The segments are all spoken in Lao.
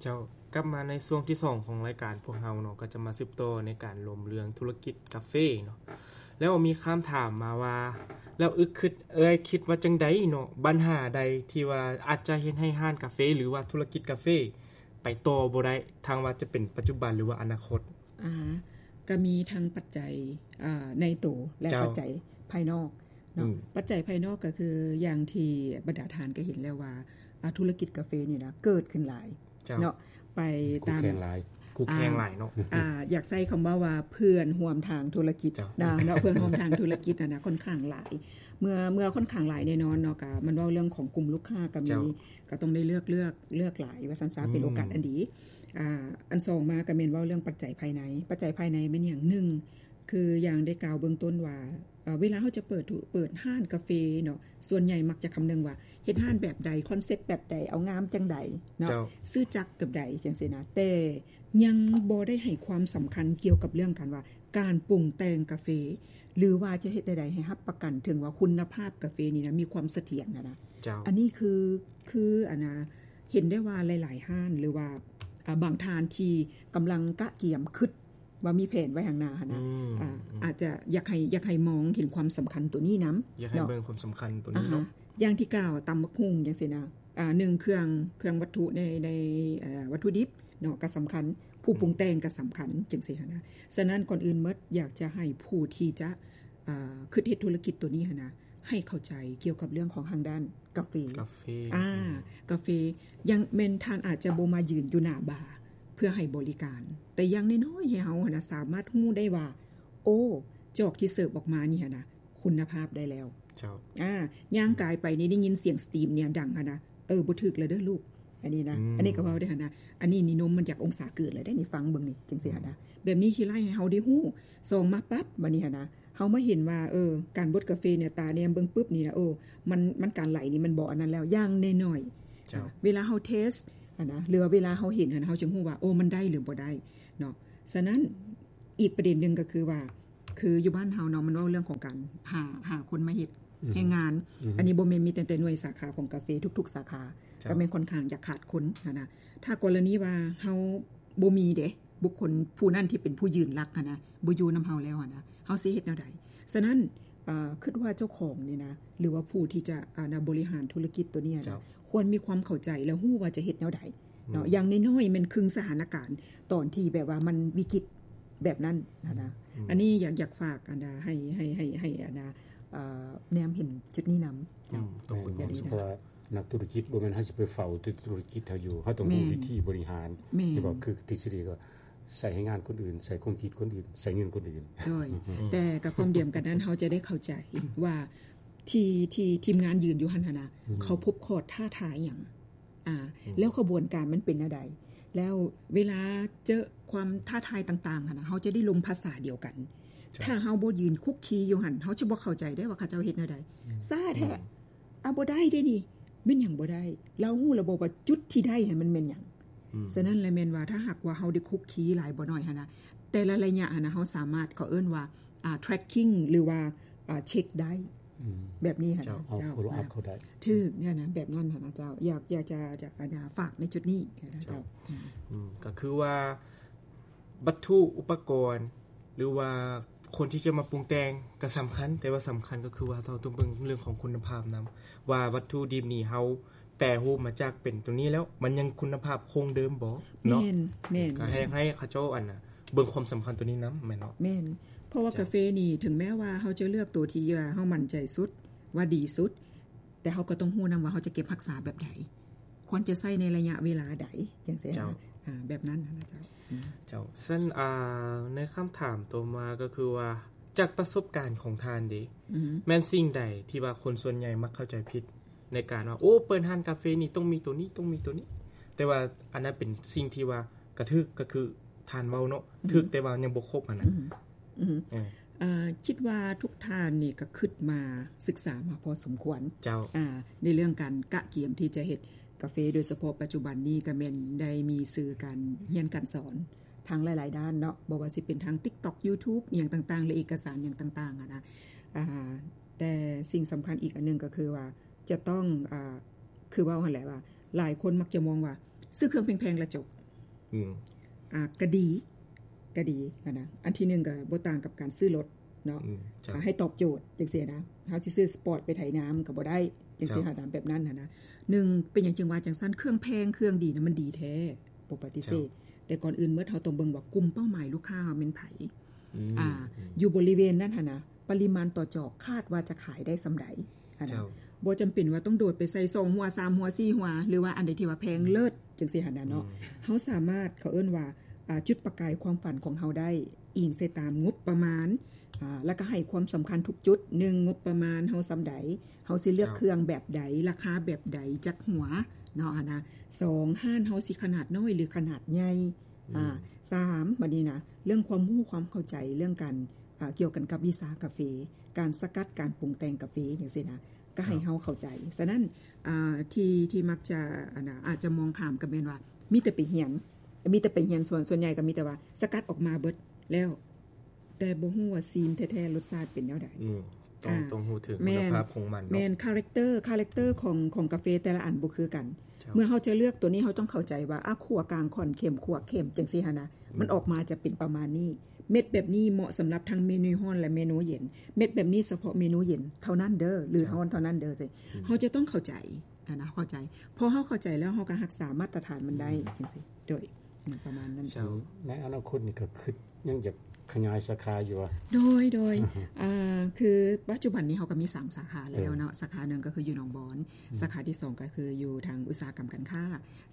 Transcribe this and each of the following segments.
ເຈົ້າ, ກັບມາໃນຊ່ວງທີສອງຂອງລາຍການພວກເຮົາເນາະ, ກໍຈະມາສືບຕໍ່ໃນການລົມເລື່ອງທຸລະກິດກາເຟເນາະ. ແລ້ວມີຄຳຖາມມາວ່າ ແລ້ວອຶກຄິດ ເອື້ອຍຄິດວ່າຈັ່ງໃດເນາະ, ບັນຫາໃດທີ່ວ່າອາດຈະເຮັດໃຫ້ຮ້ານກາເຟ ຫຼືວ່າທຸລະກິດກາເຟໄປຕໍ່ບໍ່ໄດ້, ທັງວ່າຈະເປັນປັດຈຸບັນ ຫຼືວ່າອະນາຄົດ? ອ່າ ກໍມີທັງປັດໄຈ ອ່າ ໃນໂຕ ແລະ ເຈົ້າ ປັດໄຈພາຍນອກເນາະ. ອືມ ປັດໄຈພາຍນອກກໍຄືຢ່າງທີ່ບັນດາທ່ານກໍເຫັນແລ້ວວ່າ ອ່າ ທຸລະກິດກາເຟນີ້ນະ ເກີດຂຶ້ນຫຼາຍ ເຈົ້າ ເນາະ ໄປຕາມ ຄູ່ແຂ່ງຫຼາຍ ຄູ່ແຂ່ງຫຼາຍເນາະ. ອ່າ ຢາກໃຊ້ຄຳເວົ້າວ່າເພື່ອນຮ່ວມທາງທຸລະກິດ ເຈົ້າ ນະເນາະ, ເພື່ອນຮ່ວມທາງທຸລະກິດຫັ້ນນະ ຂ້ອນຂ້າງຫຼາຍ. ເມື່ອ ເມື່ອຂ້ອນຂ້າງຫຼາຍແນ່ນອນເນາະ, ກໍມັນເວົ້າເລື່ອງຂອງກຸ່ມລູກຄ້າກໍມີ ເຈົ້າ ກໍຕ້ອງໄດ້ເລືອກ ເລືອກ ເລືອກຫຼາຍວ່າຊັ້ນຊະ ອືມ ເປັນໂອກາດອັນດີ. ອ່າ ອັນສອງມາກໍແມ່ນເວົ້າເລື່ອງປັດໄຈພາຍໃນ. ປັດໄຈພາຍໃນແມ່ນຫຍັງ? ໜຶ່ງ ຄືຢ່າງໄດ້ກ່າວເບື້ອງຕົ້ນວ່າ ເອີ ເວລາເຮົາຈະເປີດທຸ ເປີດຮ້ານກາເຟເນາະ, ສ່ວນໃຫຍ່ມັກຈະຄຳນຶງວ່າເຮັດຮ້ານແບບໃດ, ຄອນເຊັບແບບໃດ, ເອົາງາມຈັ່ງໃດເນາະ, ເຈົ້າ ຊື່ຈັກແບບໃດ ຈັ່ງຊີ້ນະ. ແຕ່ຍັງບໍ່ໄດ້ໃຫ້ຄວາມສຳຄັນກ່ຽວກັບເລື່ອງການວ່າ ການປຸງແຕ່ງກາເຟ ຫຼືວ່າຈະເຮັດແນວໃດໃຫ້ຮັບປະກັນເຖິງວ່າຄຸນນະພາບກາເຟນີ້ນະ ມີຄວາມສະຖຽນຫັ້ນນະ. ເຈົ້າ ອັນນີ້ຄື ຄື ອັນນະ ເຫັນໄດ້ວ່າຫຼາຍໆຮ້ານ ຫຼືວ່າ ອ່າ ບາງທ່ານທີ່ກຳລັງກະກຽມຄຶດ ວ່າມີແຜນໄວ້ຂ້າງໜ້າຫັ້ນນະ. ອືມ ອ່າ ອືມ ອາດຈະຢາກໃຫ້ ຢາກໃຫ້ມອງເຫັນຄວາມສຳຄັນໂຕນີ້ນຳ ຢາກໃຫ້ເນາະ ເບິ່ງຄວາມສຳຄັນໂຕນີ້ເນາະ. ອ່າຮະ ຢ່າງທີ່ກ່າວ ຕຳບັກຫຸ່ງຈັ່ງຊີ້ນະ, ອ່າ ໜຶ່ງ ເຄື່ອງ ເຄື່ອງວັດຖຸໃນ ໃນ ເອີ ວັດຖຸດິບເນາະ ກໍສຳຄັນ, ຜູ້ ອືມ ປຸງແຕ່ງກໍສຳຄັນ ຈັ່ງຊີ້ຫັ້ນນະ. ສະນັ້ນ ກ່ອນອື່ນໝົດ ຢາກຈະໃຫ້ຜູ້ທີ່ຈະ ອ່າ ຄິດເຮັດທຸລະກິດໂຕນີ້ຫັ້ນນະ ໃຫ້ເຂົ້າໃຈກ່ຽວກັບເລື່ອງຂອງທາງດ້ານກາເຟ. ກາເຟ ອ່າ ອືມ ກາເຟ ຢ່າງແມ່ນທ່ານອາດຈະບໍ່ມາຢືນຢູ່ໜ້າບາເພື່ອໃຫ້ບໍລິການ, ແຕ່ຢ່າງນ້ອຍໆໃຫ້ເຮົາຫັ້ນນະສາມາດຮູ້ໄດ້ວ່າ ໂອ້ ຈອກທີ່ເສີບອອກມານີ້ຫັ້ນນະ ຄຸນນະພາບໄດ້ແລ້ວ. ເຈົ້າ ອ່າ ຍ່າງກາຍໄປນີ້ໄດ້ຍິນສຽງສະຕີມນີ້ດັງຫັ້ນນະ, ເອີ ບໍ່ຖືກແລ້ວເດີລູກ ອັນນີ້ນະ. ອືມ ອັນນີ້ກໍເວົ້າໄດ້ຫັ້ນນະ, ອັນນີ້ນີ້ນົມມັນຢາກອົງສາເກີນແລ້ວເດ້ນີ້, ຟັງເບິ່ງນີ້ ຈັ່ງຊີ້ຫັ້ນນະ. ອືມ ແບບນີ້ທີ່ໄລ່ໃຫ້ເຮົາໄດ້ຮູ້. ສອງມາປັບ ບັດນີ້ຫັ້ນນະ ເຮົາມາເຫັນວ່າ ເອີ ການບົດກາເຟນີ້ ຕາແນມເບິ່ງປຶບນີ້ນະ ໂອ້ ມັນ ມັນການໄຫຼນີ້ມັນບໍ່ອັນນັ້ນແລ້ວ ຢ່າງນ້ອຍໆ. ເຈົ້າ ອ່າ ເວລາເຮົາເທສຫັ້ນນະ ຫຼືວ່າເວລາເຮົາເຫັນຫັ້ນນະ ເຮົາຈຶ່ງຮູ້ວ່າ ໂອ້ ມັນໄດ້ຫຼືບໍ່ໄດ້ເນາະ. ສະນັ້ນ ອີກປະເດັນໜຶ່ງກໍຄືວ່າ ຄືຢູ່ບ້ານເຮົາເນາະ ມັນເວົ້າເລື່ອງຂອງການຫາ ຫາຄົນມາເຮັດ ອືມ ແຮງງານ. ອືມ ອັນນີ້ບໍ່ແມ່ນມີແຕ່ ແຕ່ໜ່ວຍສາຂາຂອງກາເຟ, ທຸກໆສາຂາ ເຈົ້າ ກໍແມ່ນຂ້ອນຂ້າງຢາກຂາດຄົນຫັ້ນນະ. ຖ້າກໍລະນີວ່າເຮົາບໍ່ມີເດ້ ບຸກຄົນຜູ້ນັ້ນທີ່ເປັນຜູ້ຢືນຫຼັກຫັ້ນນະ ບໍ່ຢູ່ນຳເຮົາແລ້ວຫັ້ນນະ ເຮົາຊິເຮັດແນວໃດ? ສະນັ້ນ ເອີ ຄິດວ່າເຈົ້າຂອງນີ້ນະ ຫຼືວ່າຜູ້ທີ່ຈະ ອ່າ ນະ ບໍລິຫານທຸລະກິດໂຕນີ້ນະ ເຈົ້າ ຄວນມີຄວາມເຂົ້າໃຈ ແລະ ຮູ້ວ່າຈະເຮັດແນວໃດເນາະ. ອືມ ຢ່າງນ້ອຍໆແມ່ນຄຶ່ງສະຖານະການຕອນທີ່ແບບວ່າມັນວິກິດແບບນັ້ນຫັ້ນນະ. ອືມ ອັນນີ້ຢາກ ຢາກຝາກ ອັນນະ ໃຫ້ ໃຫ້ ໃຫ້ ໃຫ້ ອັນນະ ເອີ ແນມເຫັນຈຸດນີ້ນຳ. ເຈົ້າ ອືມ ຕ້ອງເບິ່ງຄວາມສຳຄັນ ເພາະວ່າ ນັກທຸລະກິດບໍ່ແມ່ນເຮົາຊິໄປເຝົ້າແຕ່ທຸລະກິດເຮົາຢູ່, ເຮົາຕ້ອງຮູ້ ແມ່ນ ວິທີບໍລິຫານ. ແມ່ນ ທີ່ບອກຄືທິດສະດີກໍໃຊ້ແຮງງານຄົນອື່ນ, ໃຊ້ຄວາມຄິດຄົນອື່ນ, ໃຊ້ເງິນຄົນອື່ນ. ໂດຍ ອືມ ແຕ່ກັບຄວາມດຽວກັນນັ້ນ ເຮົາຈະໄດ້ເຂົ້າໃຈວ່າທີ່ ທີ່ທີມງານຢືນຢູ່ຫັ້ນຫັ້ນນະ ອືມ ເຂົາພົບຂໍ້ທ້າທາຍຫຍັງ ອ່າ ອືມ ແລ້ວຂະບວນການມັນເປັນແນວໃດ? ແລ້ວເວລາເຈີຄວາມທ້າທາຍຕ່າງໆຫັ້ນນະ ເຮົາຈະໄດ້ລົມພາສາດຽວກັນ. ເຈົ້າ ຖ້າເຮົາບໍ່ຢືນຄຸກຄີຢູ່ຫັ້ນ ເຮົາຈະບໍ່ເຂົ້າໃຈໄດ້ວ່າເຂົາເຈົ້າເຮັດແນວໃດ. ອືມ ຊ້າແທ້. ອືມ ອ່າ ບໍ່ໄດ້ເດ້ນີ້. ແມ່ນຫຍັງບໍ່ໄດ້? ລາວຮູ້ລະບໍ່ວ່າຈຸດທີ່ໄດ້ຫັ້ນມັນແມ່ນຫຍັງ? ອືມ ສະນັ້ນລະແມ່ນວ່າ ຖ້າຫາກວ່າເຮົາໄດ້ຄຸກຄີຫຼາຍບໍ່ໜ້ອຍຫັ້ນນະ ແຕ່ລະໄລຍະຫັ້ນນະ ເຮົາສາມາດ ເຂົາເອີ້ນວ່າ ອ່າ tracking ຫຼືວ່າ ອ່າ ເຊັກໄດ້. ອືມ ແບບນີ້ຫັ້ນນະ. ເຈົ້າ ເຈົ້າ follow up ເຂົາໄດ້. ຖືກ ຫັ້ນນະ ແບບນັ້ນຫັ້ນນະເຈົ້າ. ຢາກ ຢາກຈະ ຈະ ອັນນະ ຝາກໃນຈຸດນີ້ນະເຈົ້າ. ເຈົ້າ ອືມ ອືມ ກໍຄືວ່າ ວັດຖຸອຸປະກອນ ຫຼືວ່າຄົນທີ່ຈະມາປຸງແຕ່ງກໍສຳຄັນ, ແຕ່ວ່າສຳຄັນກໍຄືວ່າເຮົາຕ້ອງເບິ່ງເລື່ອງຂອງຄຸນນະພາບນຳ ວ່າວັດຖຸດິບນີ້ເຮົາແປຮູບມາຈາກເປັນຕົວນີ້ແລ້ວ ມັນຍັງຄຸນນະພາບຄົງເດີມບໍ່ເນາະ. ແມ່ນ ແມ່ນ ກໍໃຫ້ ໃຫ້ເຂົາເຈົ້າ ອັນນະ ເບິ່ງຄວາມສຳຄັນຕົວນີ້ນຳ ແມ່ນເນາະ? ແມ່ນ ເພາະວ່າ ເຈົ້າ ກາເຟນີ້ ເຖິງແມ້ວ່າເຮົາຈະເລືອກຕົວທີ່ວ່າເຮົາໝັ້ນໃຈສຸດ ວ່າດີສຸດ ແຕ່ເຮົາກໍຕ້ອງຮູ້ນຳວ່າເຮົາຈະເກັບຮັກສາແບບໃດ, ຄວນຈະໃຊ້ໃນໄລຍະເວລາໃດ ຈັ່ງຊີ້ນະ. ເຈົ້າ ອ່າ ແບບນັ້ນນະເຈົ້າ. ອືມ ເຈົ້າ ຊັ້ນ ອ່າ ໃນຄຳຖາມຕໍ່ມາກໍຄືວ່າ ຈາກປະສົບການຂອງທ່ານເດ ອືມ ແມ່ນສິ່ງໃດທີ່ວ່າຄົນສ່ວນໃຫຍ່ມັກເຂົ້າໃຈຜິດ ໃນການວ່າ ໂອ້ ເປີດຮ້ານກາເຟນີ້ຕ້ອງມີໂຕນີ້ ຕ້ອງມີໂຕນີ້ ແຕ່ວ່າອັນນັ້ນເປັນສິ່ງທີ່ວ່າກະຖືກ ກໍຄືທ່ານເວົ້າເນາະ ອືມ ຖືກ ແຕ່ວ່າຍັງບໍ່ຄົບຫັ້ນນະ. ອືມ ອືມ ເອີ ເອີ ຄິດວ່າທຸກທ່ານນີ້ກໍຄິດມາ ສຶກສາມາພໍສົມຄວນ. ເຈົ້າ ອ່າ ໃນເລື່ອງການກະກຽມທີ່ຈະເຮັດກາເຟ ໂດຍສະເພາະປັດຈຸບັນນີ້ກໍແມ່ນໄດ້ມີສື່ການຮຽນການສອນທາງຫຼາຍໆດ້ານເນາະ, ບໍ່ວ່າຊິເປັນທາງ TikTok YouTube ອີ່ຫຍັງຕ່າງໆ ຫຼືເອກະສານຫຍັງຕ່າງໆຫັ້ນນະ. ອ່າ ແຕ່ສິ່ງສຳຄັນອີກອັນໜຶ່ງກໍຄືວ່າ ຈະຕ້ອງ ອ່າ ຄືເວົ້າຫັ້ນແຫຼະວ່າ ຫຼາຍຄົນມັກຈະມອງວ່າ ຊື້ເຄື່ອງແພງໆ ແລ້ວຈົບ. ອືມ ອ່າ ກໍດີ ກໍດີຫັ້ນນະ. ອັນທີໜຶ່ງກໍບໍ່ຕ່າງກັບການຊື້ລົດເນາະ ອືມ ໃຫ້ຕອບໂຈດຈັ່ງຊີ້ນະ. ເຮົາຊິຊື້ສະປອດໄປໄຖນາມັນກໍບໍ່ໄດ້ ຈັ່ງຊີ້ຫັ້ນນະ ແບບນັ້ນຫັ້ນນະ. ໜຶ່ງ ເປັນຫຍັງຈຶ່ງວ່າຈັ່ງຊັ້ນ? ເຄື່ອງແພງເຄື່ອງດີນະ ມັນດີແທ້ ບໍ່ປະຕິເສດ. ແຕ່ກ່ອນອື່ນໝົດ ເຮົາຕ້ອງເບິ່ງວ່າກຸ່ມເປົ້າໝາຍລູກຄ້າເຮົາແມ່ນໃຜ. ອືມ ອ່າ ຢູ່ບໍລິເວນນັ້ນຫັ້ນນະ ປະລິມານຕໍ່ຈອກຄາດວ່າຈະຂາຍໄດ້ສ່ຳໃດຫັ້ນນະ. ບໍ່ຈຳເປັນວ່າຕ້ອງໂດດໄປໃສ່ສອງຫົວ ສາມຫົວ ສີ່ຫົວ ຫຼືວ່າອັນໃດທີ່ວ່າແພງເລີດຈັ່ງຊີ້ຫັ້ນນະເນາະ. ເຮົາສາມາດ ເຂົາເອີ້ນວ່າ ອ່າ ຈຸດປະກາຍຄວາມຝັນຂອງເຮົາໄດ້ ອີງໃສ່ຕາມງົບປະມານ ອ່າ ແລ້ວກໍໃຫ້ຄວາມສຳຄັນທຸກຈຸດ. ໜຶ່ງ ງົບປະມານເຮົາສ່ຳໃດ, ເຮົາຊິເລືອກເຄື່ອງແບບໃດ, ລາຄາແບບໃດ, ຈັກຫົວເນາະຫັ້ນນະ. ສອງ ຮ້ານເຮົາຊິຂະໜາດນ້ອຍ ຫຼື ຂະໜາດໃຫຍ່. ອ່າ ສາມ ບັດນີ້ນະ ເລື່ອງຄວາມຮູ້ຄວາມເຂົ້າໃຈ ເລື່ອງການ ອ່າ ກ່ຽວກັນກັບວິຊາກາເຟ, ການສະກັດ ການປຸງແຕ່ງກາເຟ ຈັ່ງຊີ້ນະ ກໍໃຫ້ເຮົາເຂົ້າໃຈ. ສະນັ້ນ ອ່າ ທີ່ ທີ່ມັກຈະ ອັນນະ ອາດຈະມອງຂ້າມກໍແມ່ນວ່າ ມີແຕ່ໄປຮຽນ ມີແຕ່ໄປຮຽນ ສ່ວນ ສ່ວນໃຫຍ່ກໍມີແຕ່ວ່າສະກັດອອກມາເບິດແລ້ວ ແຕ່ບໍ່ຮູ້ວ່າຊີມແທ້ໆ ລົດຊາດເປັນແນວໃດ. ອືມ ຕ້ອງ ອ່າ ຕ້ອງຮູ້ເຖິງຄຸນນະພາບຂອງມັນເນາະ. ແມ່ນ ຄາແຣັກເຕີ ຄາແຣັກເຕີຂອງ ຂອງກາເຟແຕ່ລະອັນບໍ່ຄືກັນ. ເມື່ອເຮົາຈະເລືອກຕົວນີ້ ເຮົາຕ້ອງເຂົ້າໃຈວ່າ ອ່າ ຂົ້ວກາງ ຂ້ອນເຂັ້ມ ຂົ້ວເຂັ້ມ ຈັ່ງຊີ້ຫັ້ນນະ. ອືມ ມັນອອກມາຈະເປັນປະມານນີ້. ເມັດແບບນີ້ເໝາະສຳລັບທັງເມນູຮ້ອນ ແລະ ເມນູເຢັນ. ເມັດແບບນີ້ສະເພາະເມນູເຢັນເທົ່ານັ້ນເດີ ຫຼື ຮ້ອນເທົ່ານັ້ນເດີ. ເຮົາຈະຕ້ອງເຂົ້າໃຈຫັ້ນນະ ເຂົ້າໃຈ. ພໍເຮົາເຂົ້າໃຈແລ້ວ ເຮົາກໍຮັກສາມາດຕະຖານມັນໄດ້ ອືມ ຈັ່ງຊີ້. ໂດຍ ປະມານນັ້ນ. ເຈົ້າ ໃນອະນາຄົດນີ້ກໍຄິດ ຍັງຢາກຂະຫຍາຍສາຂາຢູ່ຫວາ? ໂດຍ ໂດຍ ອ່າ ຄືປັດຈຸບັນນີ້ເຮົາກໍມີສາມສາຂາແລ້ວເນາະ. ເອີ ສາຂາໜຶ່ງກໍຄືຢູ່ໜອງບອນ, ອືມ ສາຂາທີສອງກໍຄືຢູ່ທາງອຸດສາຫະກຳການຄ້າ,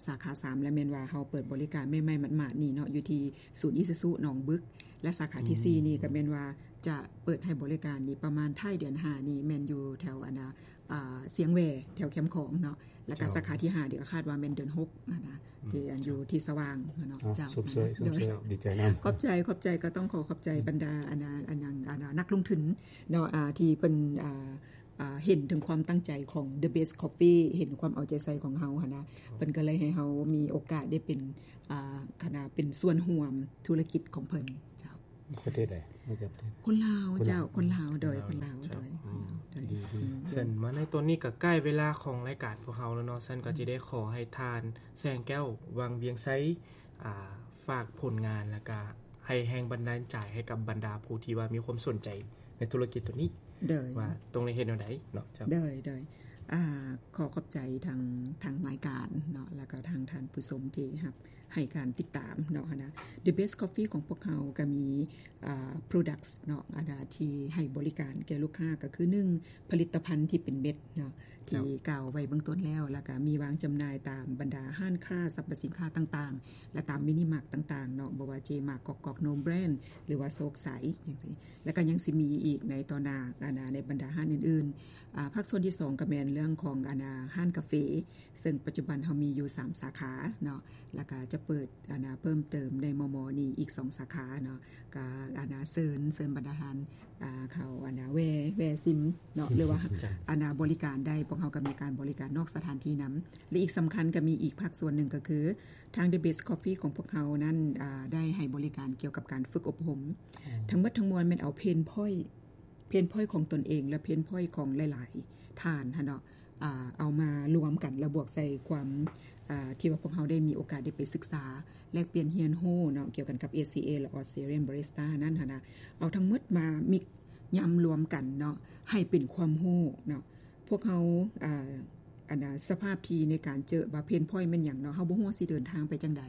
ສາຂາສາມລະແມ່ນວ່າເຮົາເປີດບໍລິການໃໝ່ໆ ໝາດໆນີ້ເນາະ ຢູ່ທີ່ສູນອີຊູຊູໜອງບຶກ ແລະ ສາຂາທີສີ່ ອືມ ນີ້ກໍແມ່ນວ່າຈະເປີດໃຫ້ບໍລິການນີ້ປະມານທ້າຍເດືອນຫ້ານີ້ ແມ່ນຢູ່ແຖວອັນນະ ອ່າ ຊຽງແຫວ ແຖວແຄມຂອງເນາະ. ແລ້ວກໍ ເຈົ້າ ສາຂາທີຫ້ານີ້ກໍຄາດວ່າແມ່ນເດືອນຫົກຫັ້ນນະ ອືມ ທີ່ອັນຢູ່ທີ່ສະຫວ່າງເນາະ. ເຈົ້າ ຊົມເຊີຍ ຊົມເຊີຍ ດີໃຈນຳ. ຂອບໃຈ ຂອບໃຈ ກໍຕ້ອງຂໍຂອບໃຈ ອືມ ບັນດາອັນນະ ອັນຫຍັງ ອັນນະ ນັກລົງທຶນເນາະ ອ່າ ທີ່ເພິ່ນ ອ່າ ອ່າ ເຫັນເຖິງຄວາມຕັ້ງໃຈຂອງ The Best Coffee ເຫັນຄວາມເອົາໃຈໃສ່ຂອງເຮົາຫັ້ນນະ. ເພິ່ນກໍເລີຍໃຫ້ເຮົາມີໂອກາດໄດ້ເປັນ ອ່າ ຄະນະ ເປັນສ່ວນຮ່ວມທຸລະກິດຂອງເພິ່ນ. ເຈົ້າ ປະເທດໃດ? ມາຈາກປະເທດ ຄົນລາວ ຄົນລາວ ເຈົ້າ ຄົນລາວ ໂດຍ ຄົນລາວ ເຈົ້າ ໂດຍ ອືມ ຄົນລາວ ໂດຍ ດີ ອືມ ເຊິ່ງມາໃນຕອນນີ້ກໍໃກ້ເວລາຂອງລາຍການພວກເຮົາແລ້ວເນາະ. ຊັ້ນກໍ ອືມ ຈະໄດ້ຂໍໃຫ້ທ່ານແສງແກ້ວ ວັງວຽງໄຊ ອ່າ ຝາກຜົນງານ ແລ້ວກໍໃຫ້ແຮງບັນດານໃຈໃຫ້ກັບບັນດາຜູ້ທີ່ວ່າມີຄວາມສົນໃຈໃນທຸລະກິດຕົວນີ້ ໂດຍ ວ່າຕ້ອງໄດ້ເຮັດແນວໃດເນາະ. ເຈົ້າ ໂດຍ ໂດຍ ອ່າ ຂໍຂອບໃຈທາງ ທາງລາຍການເນາະ ແລ້ວກໍທາງທ່ານຜູ້ຊົມທີ່ຮັບ ໃຫ້ການຕິດຕາມເນາະຫັ້ນນະ. The Best Coffee ຂອງພວກເຮົາກໍມີ ອ່າ products ເນາະ ອັນນະ ທີ່ໃຫ້ບໍລິການແກ່ລູກຄ້າ ກໍຄື ໜຶ່ງ ຜະລິດຕະພັນທີ່ເປັນເມັດເນາະ ເຈົ້າ ທີ່ກ່າວໄວ້ເບື້ອງຕົ້ນແລ້ວ ແລ້ວກໍມີວາງຈຳໜ່າຍຕາມບັນດາຮ້ານຄ້າສັບພະສິນຄ້າຕ່າງໆ ແລະ ຕາມມິນິມາດຕ່າງໆເນາະ ບໍ່ວ່າ J Mart ກອກກອກ Nome Brand ຫຼືວ່າໂຊກໄຊ ຈັ່ງຊີ້. ແລ້ວກໍຍັງຊິມີອີກໃນຕໍ່ໜ້າ ອັນນະ ໃນບັນດາຮ້ານອື່ນໆ. ອ່າ ພາກສ່ວນທີສອງກໍແມ່ນເລື່ອງຂອງ ອັນນະ ຮ້ານກາເຟ ເຊິ່ງປັດຈຸບັນເຮົາມີຢູ່ສາມສາຂາເນາະ ແລ້ວກໍຈະເປີດ ອັນນະ ເພີ່ມເຕີມໃນມໍ່ໆນີ້ອີກສອງສາຂາເນາະ. ກໍ ອັນນະ ເຊີນ ເຊີນບັນດາທ່ານ ອ່າ ເຂົ້າ ອັນນະ ແວ່ ແວ່ຊິມເນາະ ຫຼືວ່າ ອັນນະ ບໍລິການໄດ້. ພວກເຮົາກໍມີການບໍລິການນອກສະຖານທີ່ນຳ ແລະ ອີກສຳຄັນກໍມີອີກພາກສ່ວນໜຶ່ງ ກໍຄືທາງ The Best Coffee ຂອງພວກເຮົານັ້ນ ອ່າ ໄດ້ໃຫ້ບໍລິການກ່ຽວກັບການຝຶກອົບຮົມ. ທັງໝົດທັງມວນແມ່ນເອົາ pain point pain point ຂອງຕົນເອງ ແລະ pain point ຂອງຫຼາຍໆທ່ານຫັ້ນເນາະ ອ່າ ເອົາມາລວມກັນ ແລ້ວບວກໃສ່ຄວາມ ອ່າ ທີ່ວ່າພວກເຮົາໄດ້ມີໂອກາດໄດ້ໄປສຶກສາ ແລກປ່ຽນຮຽນຮູ້ເນາະ ກ່ຽວກັນກັບ ເອຊີເອ ແລະ Australian Barista ນັ້ນຫັ້ນນະ ເອົາທັງໝົດມາ mix ຍຳລວມກັນເນາະ ໃຫ້ເປັນຄວາມຮູ້ເນາະ. ພວກເຮົາ ອ່າ ອັນນະ ສະພາບທີ່ໃນການເຈີວ່າ pain point ແມ່ນຫຍັງເນາະ ເຮົາບໍ່ຮູ້ວ່າຊິເດີນທາງໄປຈັ່ງໃດ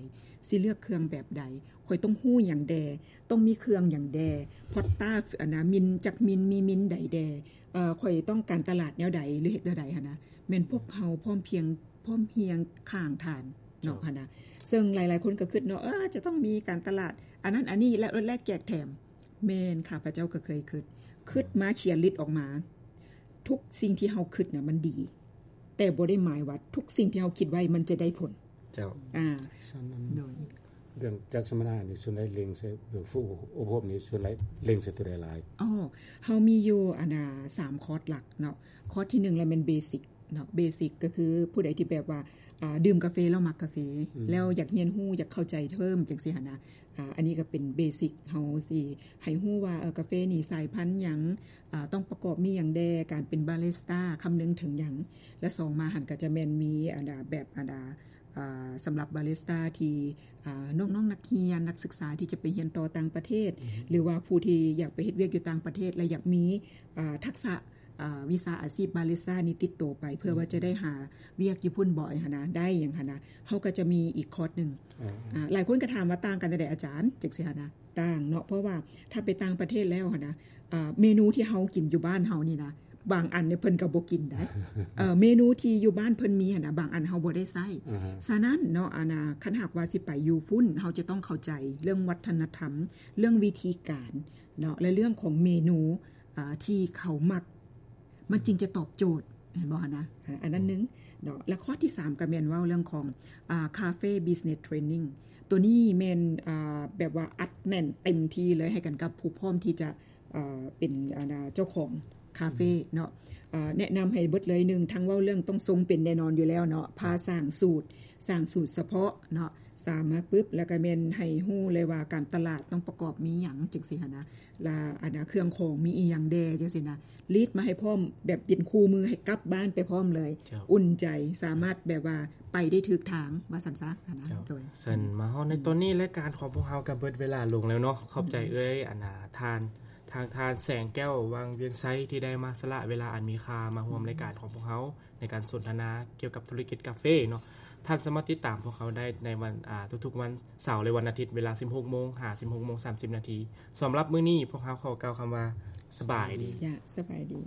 ຊິເລືອກເຄື່ອງແບບໃດ ຂ້ອຍຕ້ອງຮູ້ຫຍັງແດ່ ຕ້ອງມີເຄື່ອງຫຍັງແດ່ ພອດຕາ ອັນນະ ມິນ ຈັກມິນ ມີມິນໃດແດ່ ເອີ ຂ້ອຍຕ້ອງການຕະຫຼາດແນວໃດ ຫຼື ເຮັດແນວໃດຫັ້ນນະ. ແມ່ນພວກເຮົາພ້ອມພຽງ ພ້ອມຮຽງຂ້າງທ່ານເນາະ ເຈົ້າ ຫັ້ນນະ. ເຊິ່ງຫຼາຍໆຄົນກໍຄິດເນາະ ເອີ ຈະຕ້ອງມີການຕະຫຼາດ ອັນນັ້ນອັນນີ້ ແລະ ລົດແລກແຈກແຖມ. ແມ່ນ ຂ້າພະເຈົ້າກໍເຄີຍຄິດ ຄິດມາຂຽນລິດອອກມາ. ທຸກສິ່ງທີ່ເຮົາຄິດນະມັນດີ ແຕ່ບໍ່ໄດ້ໝາຍວ່າທຸກສິ່ງທີ່ເຮົາຄິດໄວ້ມັນຈະໄດ້ຜົນ. ເຈົ້າ ອ່າ ສະນັ້ນ ໂດຍ ເລື່ອງຈັດສຳມະນານີ້ ສ່ວນໃຫຍ່ເລັງໃສ່ ເລື່ອງຝຶກອົບຮົມນີ້ ສ່ວນໃຫຍ່ເລັງໃສ່ຕົວໃດຫຼາຍ? ອໍ ເຮົາມີຢູ່ ອັນນະ ສາມຄອດຫຼັກເນາະ. ຄອດທີໜຶ່ງລະແມ່ນ basic ເນາະ basic ກໍຄືຜູ້ໃດທີ່ແບບວ່າ ອ່າ ດື່ມກາເຟແລ້ວມັກກາເຟ ອືມ ແລ້ວຢາກຮຽນຮູ້ ຢາກເຂົ້າໃຈເພີ່ມ ຈັ່ງຊີ້ຫັ້ນນະ. ອ່າ ອັນນີ້ກໍເປັນ basic ເຮົາຊິໃຫ້ຮູ້ວ່າ ເອີ ກາເຟນີ້ສາຍພັນຫຍັງ ອ່າ ຕ້ອງປະກອບມີຫຍັງແດ່ ການເປັນບາຣິສຕາຄຳນຶງເຖິງຫຍັງ. ແລະ ສອງມາຫັ້ນກໍຈະແມ່ນມີ ອັນນະ ແບບ ອັນນະ ອ່າ ສຳລັບບາຣິສຕາທີ່ ອ່າ ນ້ອງໆນັກຮຽນ ນັກສຶກສາທີ່ຈະໄປຮຽນຕໍ່ຕ່າງປະເທດ ຫຼືວ່າຜູ້ທີ່ຢາກໄປເຮັດວຽກຢູ່ຕ່າງປະເທດ ແລະ ຢາກມີ ອ່າ ທັກສະ ອ່າ ວິຊາອາຊີບບາຣິສຕານີ້ຕິດໂຕໄປ ເພື່ອວ່າຈະໄດ້ຫາວຽກຢູ່ພຸ້ນບໍ່ ຫຍັງຫັ້ນນະ ໄດ້ຫຍັງຫັ້ນນະ ເຮົາກໍຈະມີອີກຄອດໜຶ່ງ. ອ່າ ຫຼາຍຄົນກໍຖາມວ່າຕ່າງກັນຈັ່ງໃດອາຈານ ຈັ່ງຊີ້ຫັ້ນນະ. ຕ່າງເນາະ ເພາະວ່າຖ້າໄປຕ່າງປະເທດແລ້ວຫັ້ນນະ ອ່າ ເມນູທີ່ເຮົາກິນຢູ່ບ້ານເຮົານີ້ນະ ບາງອັນນີ້ເພິ່ນກໍບໍ່ກິນໄດ໋. ເອີ ເມນູທີ່ຢູ່ບ້ານເພິ່ນມີຫັ້ນນະ ບາງອັນເຮົາບໍ່ໄດ້ໃຊ້. ສະນັ້ນເນາະ ອັນນະ ຄັນຫາກວ່າຊິໄປຢູ່ພຸ້ນ ເຮົາຈະຕ້ອງເຂົ້າໃຈເລື່ອງວັດທະນະທຳ ເລື່ອງວິທີການເນາະ ແລະ ເລື່ອງຂອງເມນູ ອ່າ ທີ່ເຂົາມັກ ມັນຈຶ່ງຈະຕອບໂຈດ ເຫັນບໍ່ຫັ້ນນະ? ອັນນັ້ນໜຶ່ງເນາະ ແລະ ຂໍ້ທີສາມກໍແມ່ນເວົ້າເລື່ອງຂອງ ອ່າ Cafe Business Training ຕົວນີ້ແມ່ນ ອ່າ ແບບວ່າອັດແໜ້ນເຕັມທີ່ເລີຍ ໃຫ້ກັນກັບຜູ້ພ້ອມທີ່ຈະ ອ່າ ເປັນ ອ່າ ເຈົ້າຂອງຄາເຟເນາະ. ອ່າ ແນະນຳໃຫ້ເບິດເລີຍ ໜຶ່ງ ທັງເວົ້າເລື່ອງຕ້ອງຊົງເປັນແນ່ນອນຢູ່ແລ້ວເນາະ ພາສ້າງສູດ ສ້າງສູດສະເພາະເນາະ ສາມມາປຶບ ແລ້ວກໍແມ່ນໃຫ້ຮູ້ເລີຍວ່າການຕະຫຼາດຕ້ອງປະກອບມີຫຍັງ ຈັ່ງຊີ້ຫັ້ນນະ ລະອັນນະ ເຄື່ອງຂອງມີອີ່ຫຍັງແດ່ ຈັ່ງຊີ້ນະ ລີດມາໃຫ້ພ້ອມ ແບບເປັນຄູ່ມື ໃຫ້ກັບບ້ານໄປພ້ອມເລີຍ ເຈົ້າ ອຸ່ນໃຈ ສາມາດແບບວ່າໄປໄດ້ຖືກທາງ ວ່າຊັ້ນຊະຫັ້ນນະ. ເຈົ້າ ໂດຍ ຊັ້ນມາຮອດໃນຕອນນີ້ ລາຍການຂອງພວກເຮົາກໍເບິດເວລາລົງແລ້ວເນາະ. ຂອບໃຈເອື້ອຍ ອັນນາ ທ່ານ ທາງທ່ານແສງແກ້ວ ວັງວຽນໄຊ ທີ່ໄດ້ມາສະຫຼະເວລາອັນມີຄ່າມາຮ່ວມລາຍການຂອງພວກເຮົາ ໃນການສົນທະນາກ່ຽວກັບທຸລະກິດກາເຟເນາະ. ທ່ານສາມາດຕິດຕາມພວກເຮົາໄດ້ໃນວັນ ອ່າ ທຸກໆວັນເສົາ ແລະ ວັນອາທິດ ເວລາສິບຫົກໂມງຫາສິບຫົກໂມງສາມສິບນາທີ. ສຳລັບມື້ນີ້ ພວກເຮົາຂໍກ່າວຄຳວ່າ ສະບາຍດີ. ສະບາຍດີ.